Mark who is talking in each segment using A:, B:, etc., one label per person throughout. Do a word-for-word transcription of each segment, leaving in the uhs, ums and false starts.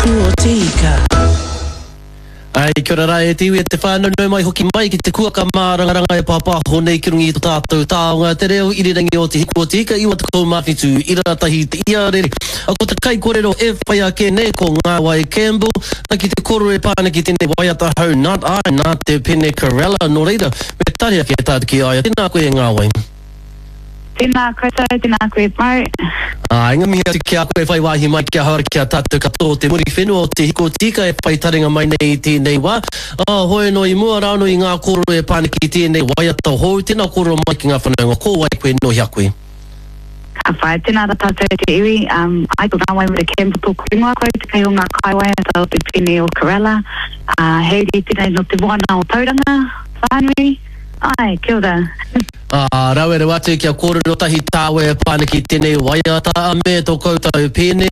A: Hiku o Te Ika.
B: Ai, kia ora rā e te iwi e te whānau, nau mai hoki mai ki te kuaka mārangaranga e pāpāho nei ki runga i tō tātou taonga, te reo irirangi o Te Hiku o Te Ika, iwa tekau mā whitu, ira tahi te iarere. A ko te kaikorero e whai ake nei ko Ngāwai Campbell, na ki te koro e pā ana ki tēnei waiata hou Not I, nā te pene Corella, nō reira, me tari ake tātou ki a ia. Tēnā koe e Ngāwai.
C: Tēnā koutou, tēnā koe Mo.
B: Āe, ngā mihi atu ki a koe whai wāhi mai ki ahau ki a tātou katoa o te Muriwhenua o Te Hikotika e whai taringa mai nei i tēnei wā. Ā, hoi anō i mua rānō i ngā kōrero e pā ana ki tēnei waiata hou, tēnā kōrero mai ki ngā whanaunga, ko wai koe, nō hea koe?
C: Ka whai, tēnā rā tātou e te iwi, um, ai ko Ngāwai Mere Campbell tōku ingoa, ko au te kai o ngā kaiwaiata o te pene o Corella, ā, he uri tēnei nō te moana o Tauranga whānui. Āe, kia ora.
B: Ā, rawe rawa atu kia kōrero tahi tāua e pā ana ki tēnei waiata a me tō koutou pēne.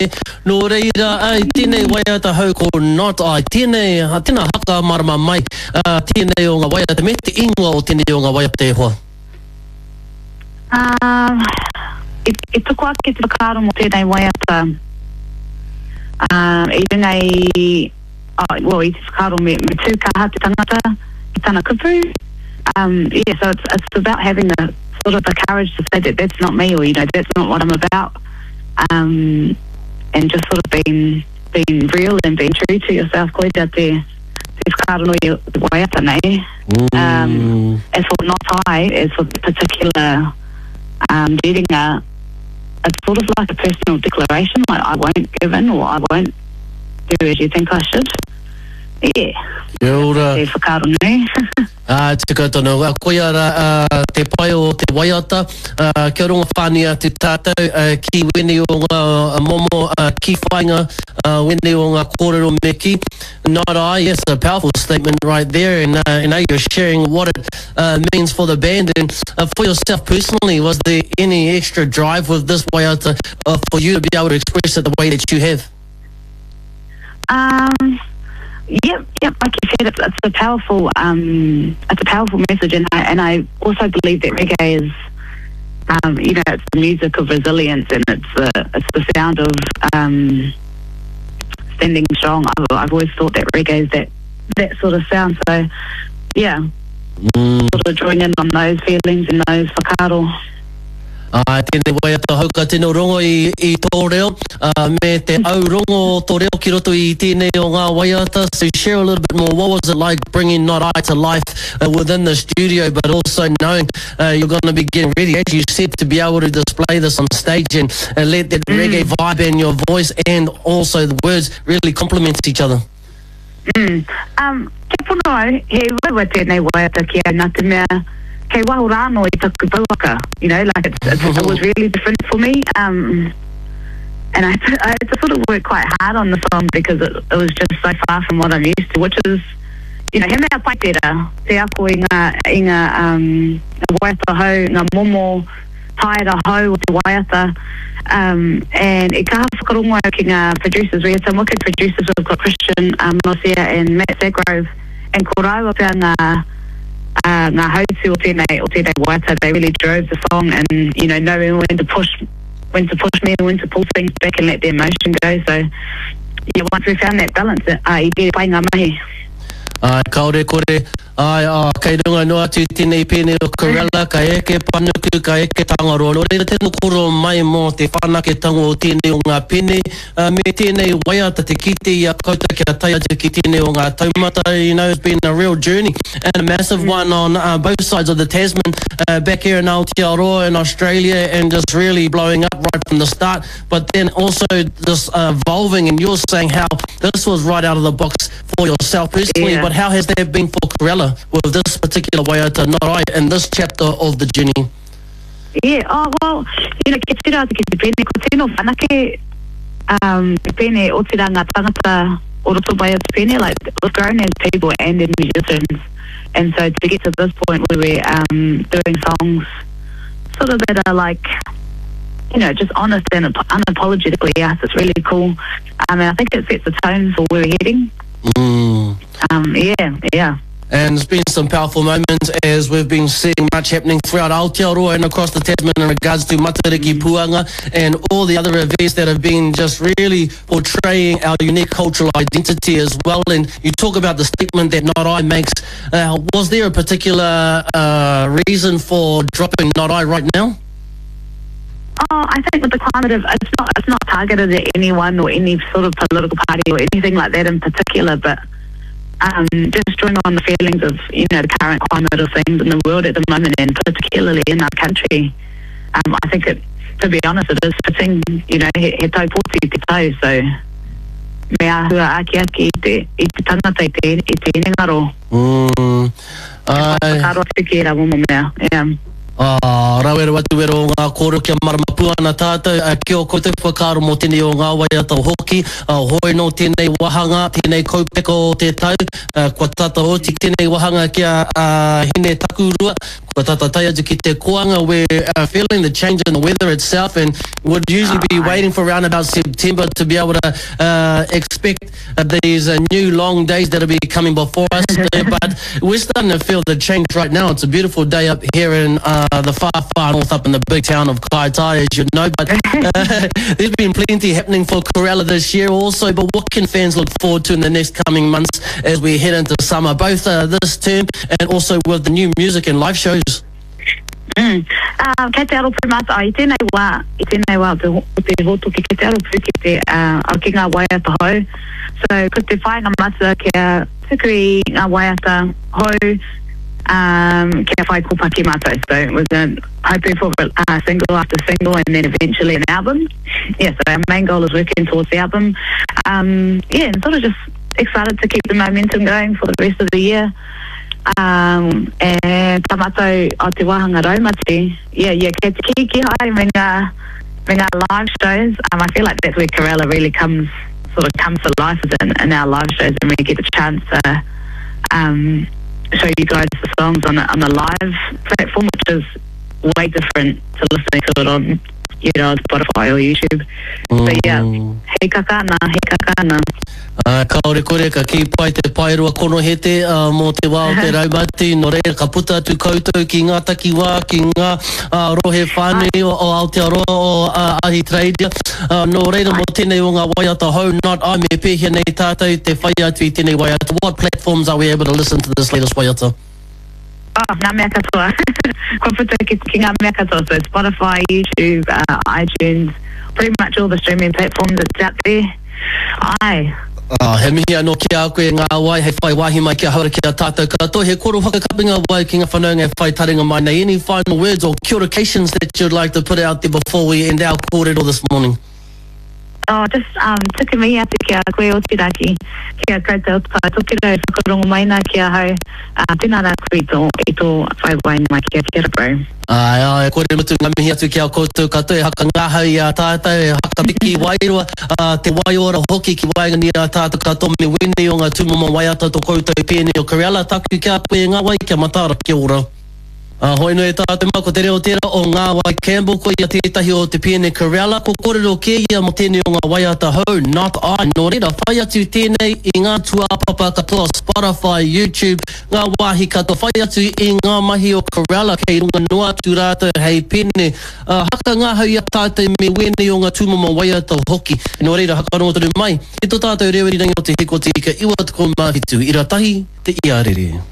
B: Nō reira, ā, i tēnei waiata hou ko Not I, tēnei, tēnā haka marama mai, ā, tēnei o ngā waiata, me te ingoa o tēnei o ngā waiata e hoa.
C: Ā, i, i toko ake te whakaaro mō tēnei waiata, ā, i runga i, oh, well, i te whakaaro me, me tū kaha te tangata i tana kupu. Um, yeah, so it's, it's about having the sort of the courage to say that that's not me, or, you know, that's not what I'm about. Um, and just sort of being, being real and being true to yourself. Koira te, te whakaaro nui o te waiata nei. Um, as for Not I, as for the particular, um, readinga, it's sort of like a personal declaration, like I won't give in, or I won't do as you think I should. Yeah.
B: Kia ora.
C: Te whakaaro nui.
B: Ā, tika tonu. Ā, koia rā, ā, te pai o te waiata, ā, kia rongo whānui atu tātou, ā, ki wēnei o ngā momo, ā, ki whāinga, ā, wēnei o ngā kōrero me kī. Not I, yes, a powerful statement right there, and, uh, and now you're sharing what it, uh, means for the band. And, uh, for yourself personally, was there any extra drive with this waiata, uh, for you to be able to express it the way that you have?
C: Um, yep, yep. Like you said, it's, it's a powerful, um, it's a powerful message, and I, and I also believe that reggae is, um, you know, it's the music of resilience, and it's the, it's the sound of, um, standing strong. I've, I've always thought that reggae is that, that sort of sound. So, yeah,
B: Mm.
C: sort of drawing in on those feelings and those whakaaro.
B: Ā, tēnei waiata hou ka tino rongo i, i tō reo, ā, me te au rongo o tō reo ki roto i tēnei o ngā waiata. So share a little bit more, what was it like bringing Not I to life, uh, within the studio, but also knowing, uh, you're gonna be getting ready, as you said, to be able to display this on stage and, and let that
C: Mm.
B: reggae vibe and your voice and also the words really complement each other.
C: Mm. Um, kia pono au, he uaua tēnei waiata ki au, nā te mea, kei waho rānō i taku pouaka, you know, like it's, it's, it was really different for me. Um, and I, I had to sort of work quite hard on the song because it, it was just so far from what I'm used to, which is, you know, he mea pai tērā, te ako i ngā, i ngā, um, ngā waiata hou, ngā momo taera hou o te waiata. Um, and e kaha whakarongo au ki ngā producers. We had some wicked producers. We've got Christian, um, Mosia and Matt Sagrove, and ko rāua pea ngā, uh, ngā hautu o tēnei, o tēnei waiata. They really drove the song, and, you know, knowing when to push, when to push me and when to pull things back and let the emotion go. So, yeah, once we found that balance, uh, i rere pai ngā mahi.
B: Ai, kaore kore, ai, ā, kei runga noa atu tēnei pēne o Corella, ka eke panuku, ka eke Tangaroa. Nō reira, tēnā kōrero mai mō te whanaketanga o tēnei o ngā pēne, ā, me tēnei waiata te kite i a koutou kia tae atu ki tēnei o ngā taumata. You know, it's been a real journey and a massive one on, uh, both sides of the Tasman, uh, back here in Aotearoa in Australia, and just really blowing up right from the start, but then also this, uh, evolving, and you're saying how this was right out of the box for yourself personally,
C: Yeah.
B: but how has that been for Corella with this particular waiata, Not I, in this chapter of the journey?
C: Yeah, oh, well, you know, kia tira atu ki te pēne, ko tino whanake, um, te pēne o tira ngā tangata o roto mai o te pēne, like, we've grown as people and as musicians, and so to get to this point where we're, um, doing songs sort of that are like, you know, just honest and unapologetically us, it's really cool. Um, and I think it sets the tone for where we're heading.
B: Mm.
C: Um, yeah, yeah.
B: And there's been some powerful moments as we've been seeing much happening throughout Aotearoa and across the Tasman in regards to Matariki Puanga and all the other events that have been just really portraying our unique cultural identity as well. And you talk about the statement that Not I makes. Uh, was there a particular uh, reason for dropping Not I right now?
C: Oh, I think with the climate of, it's not, it's not targeted at anyone or any sort of political party or anything like that in particular, but um, just drawing on the feelings of, you know, the current climate of things in the world at the moment, and particularly in our country. Um, I think it, to be honest, it is fitting, you know, he, he tau pōti te tau, so me āhua aki aki i te, i te tangata, i te, i te hinengaro.
B: Mm. Ai.
C: Whakaaro atu ki ērā momo mea, yeah.
B: Ah, rawero atu wero o ngā kōrero kia marama pū ana tātou, uh, ki o koutou whakaaro mō tēnei o ngā waiata hoki, uh, hoi nō tēnei wāhanga, tēnei kaupeka o te tau, uh, kua tata oti tēnei wāhanga kia uh, hine takurua, kua tata tae atu ki te koanga, we're uh, feeling the change in the weather itself and would usually be waiting for around about September to be able to uh, expect uh, these uh, new long days that'll be coming before us. But we're starting to feel the change right now. It's a beautiful day up here in uh, the far, far north up in the big town of Kaitai, as you know. But uh, there's been plenty happening for Corella this year also. But what can fans look forward to in the next coming months as we head into summer, both uh, this term and also with the new music and live shows?
C: Mm. Uh, kei te aro pū mātou, i tēnei wā, i tēnei wā o te, o te hōtoke, kei te aro pū ki te, uh, ki ngā waiata hou. So, ko te whāinga matua kia tuku i ngā waiata hou, um, kia whai kōpaki mātou. So, it was a, hoping for uh, single after single and then eventually an album. Yeah, so our main goal is working towards the album. Um, yeah, and sort of just excited to keep the momentum going for the rest of the year. Um, and tā mātou o te wāhanga raumati, yeah, yeah, kei te kiki haere me ngā, me ngā live shows. Um, I feel like that's where Corella really comes, sort of comes to life, is in, in our live shows, and we get the chance to um, show you guys the songs on a, on a live platform, which is way different to listening to it on, you know, on Spotify or YouTube. So yeah, he kakana, he kakana.
B: Uh, kaore kore ka ki pai te paerua konohete uh, mō te wā o te raumati, nō reira ka puta atu koutou ki ngā takiwā, ki ngā uh, rohe whānui o, o Aotearoa o uh, Ahitereiria. Uh, nō reira mō tēnei o ngā waiata hou, Not I, me pēhea nei tātou te whai atu i tēnei waiata. What platforms are we able to listen to this latest waiata?
C: Oh, ngā mea katoa. Kua puta ki, ki ngā mea katoa. So Spotify, YouTube, uh, iTunes, pretty much all the streaming platforms that's out there. Ai.
B: Oh, he mihi anō ki a koe ngā wai, hei whai wāhi mai kia haura ki a tātou katoa. He koro whakakapinga wai ki ngā whanaunga e whai taringa mai nei. Any final words or communications that you'd like to put out there before we end our kōrero this morning?
C: Oh, just um, tuku mihi atu ki a koe o te raki, ki a koutou o te Tai Tokerau, whakarongo mai nā ki ahau. Uh, tēnā rā koe i tō, i tō whai wai mai ki a kia bro.
B: Ai, ai, kore mutu ngā mihi atu ki a koutou katoa, e haka ngahau i a tātou, e haka piki wairua, uh, te waiora hoki ki waenganui a tātou katoa me wēnei o ngā tūmomo waiata tō koutou pēnei o Corella, taku ki a koe ngā wai kia mataara kia ora. Uh, hoi nui tātou mā, ko te reo tērā o Ngā Wai Campbell, ko ia tētahi o te pēne Corella, ko kōrero kē ia mō tēnei o ngā waiata hou, Not I. Nō reira, whai atu tēnei i ngā tūāpapa katoa, Spotify, YouTube, ngā wāhi katoa, whai atu i ngā mahi o Corella, kei runga noa atu rātou hei pēne. Uh, haka ngahau i a tātou me wēnei o ngā tūmomo waiata hoki. Nō reira, hakarongo tonu mai, i tō tātou reo irirangi o te Hiko Te Ika, iwa tekau mā whitu, ira tahi, te iarere.